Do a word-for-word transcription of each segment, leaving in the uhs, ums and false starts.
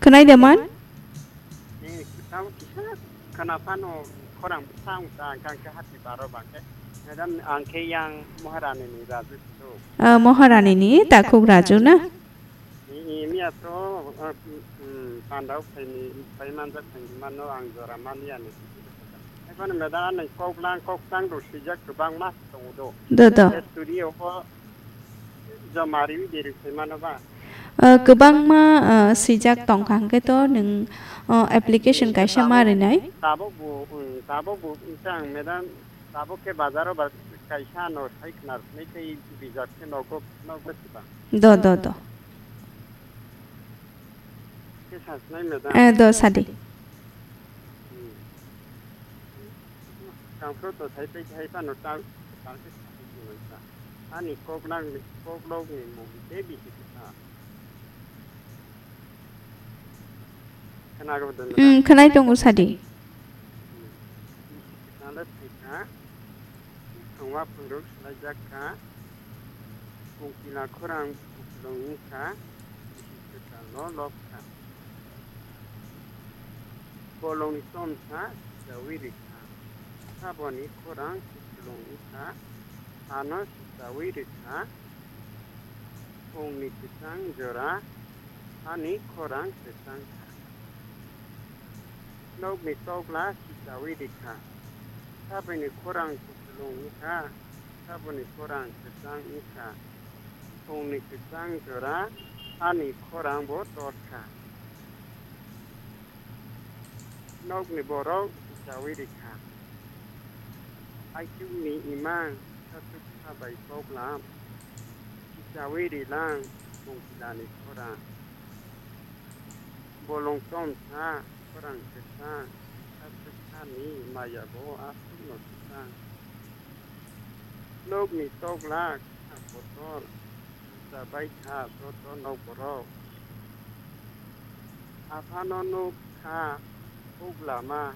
Khwnai de man? Eh, tamo kisa khwna phano khorang bwsa wng ta, ang khe hati baro ba khe. Madam, ang khe yang Maharani ni Raju Kuthuk. Ah, Maharani ni Takhuk Raju na? Eh, eh, miya to, ah, mm, mm, pandao phaini, phai manjak phaini mano ang jora maliya ni. Ekhon madam, ang kok lang, kok tang do swijak kwbangma tongo do. Do, do. Eh, studio ho joma riwi de ri phai mano ba? Ah, kwbangma, ah, swijak tongkha hwnkhe to nwng, ah, application kaisa ma rinai. Tabuk bo, um, tabuk bo wngkha ang madam, tabuk khe bazaro ba kaisa no sai khwna rwkhnai tei bijak khe nogo, nogo kwbang. Do, do, do. Khe sa sinai madam? Eh, do, sadi. Hmm. Tangphro to sai pai sai phano ta, ta khe sa sinai sa. Ani kok nang ni, kok lok ni mung tei bisi kwthang. Khwnago dwng na? Hmm, khwnai tongo sadi. Hmm. Bisi kwthang le thai kha. Thwngma phungrwk swlaijak kha. Kungkila khorang kupulung wng kha. Bisi kwthang no lok kha. Bolongni chomsa sichawi rikha. Saboni khorang kupulung wngkha, ano sichawi rikha. Phungni kwchang jora, ani khorang kwchang kha. Nokni tokla sichawi rikha. Saboni khorang kupulung wngkha, saboni khorang kwchang wngkha. Phungni kwchang jora, ani khorang bo tor kha. Nokni borok sichawi rikha. Aichukni imang sachuksa bai koklam, sichawi rilang kungkilani khorang. Bolong chomsa khorang kwchang, sachuksani maya bo aswkno kwchang. Nokni tokla kha kotor, chabai kha joto nokborok. Aphano nuk kha huk lama,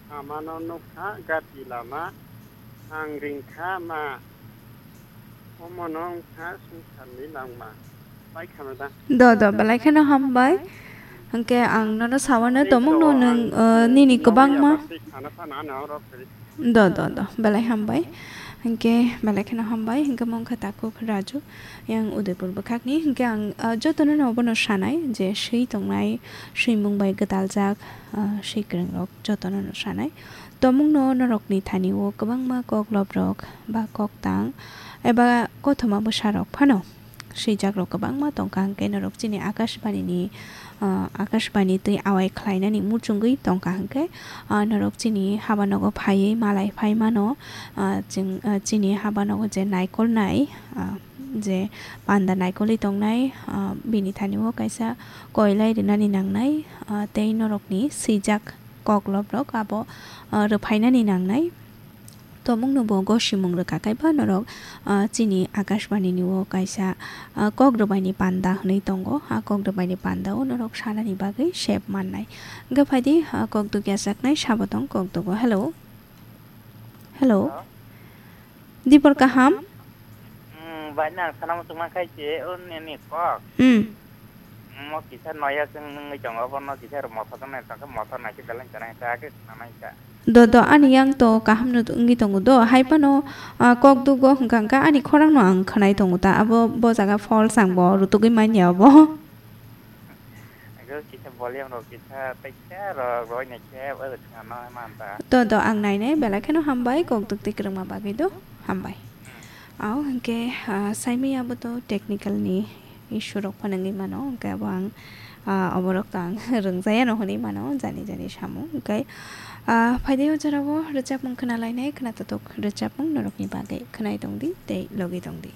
amano nuk kha gati lama, ang ring kha ma, omono wng kha swngcharni langma. Pai kha ma da? Do, do, belai kheno hambai. Hwnkhe ang nono sawano tomungno nwng, uh, nini kwbangma. Do, do, do. Belai hambai. Hwnkhe belai kheno hambai. Hwnkhe mungkha Takhuk Raju, yang Udaipur bwkhakni. Hwnkhe ang, ah, jotono no bono sanai je swi tongnai, swimung bai gwdaljak, ah, swi kwrwngrok jotono no sanai. Tomungno norokni thani o kwbangma kokloprok ba koktang eba kothoma bwsarok phano swijakrok kwbangma tongkha, hwnkhe norok chini Akashbani ni, ah, Akashbani twi awai khlainani muchungwi tongkha, hwnkhe, ah, norok chini habanogo phaiwi malai phai mano, ah, chwng, ah, chini habanogo je naikolnai, ah, je panda naikolwi tongnai, ah, bini thani o kaisa koilai rwnani nangnai, ah, tei norokni swijak kokloprok abo, ah, rwphainani nangnai. Tomungno bo gosimung rwkha kaiba norok, ah, chini Akashbani ni o kaisa, ah, kok rwbaini panda hwnwi tongo. A kok rwbaini panda o norok sanani bagwi sep mannai. Hwnkhe phaidi, ah, kok dugya chaknai sabo tong kok dugo. Hello. Hello. Hello. Dipor kaham? Hmm, bai nang sana muchung ma khai che, o nini kok. Hmm. Mo kisa noya chwng nungwi tongo, bono kisa mothor nai tongkha, mothor nai khe belai chana khe age khna nai kha. Do, do, ani yang to kaham no wngwi tongo do, hai phano, ah, kok dugo hwnkha hwnkha ani khorang no ang khwnai tongo ta, abo bo jaga false ang bo rutugwi manya abo. Ego kisa volume rok kisa paisa rok roi nai khe o khna no man ta. Do, do, ang nai nai belai kheno hambai kok duk twi kwrwngma bagwi do, hambai. Ao hwnkhe, ah, saimaya bo to technical ni issue rok phano wngwi mano, hwnkhe abo ang, ah, oborok to ang rwngjaya no hwnwi mano, jani jani samung. Hwnkhe, ah, phaidi o jorao rwchapmung khna lainai, khna totok rwchapmung norokni bagwi khwnai tongdi tei logi tongdi.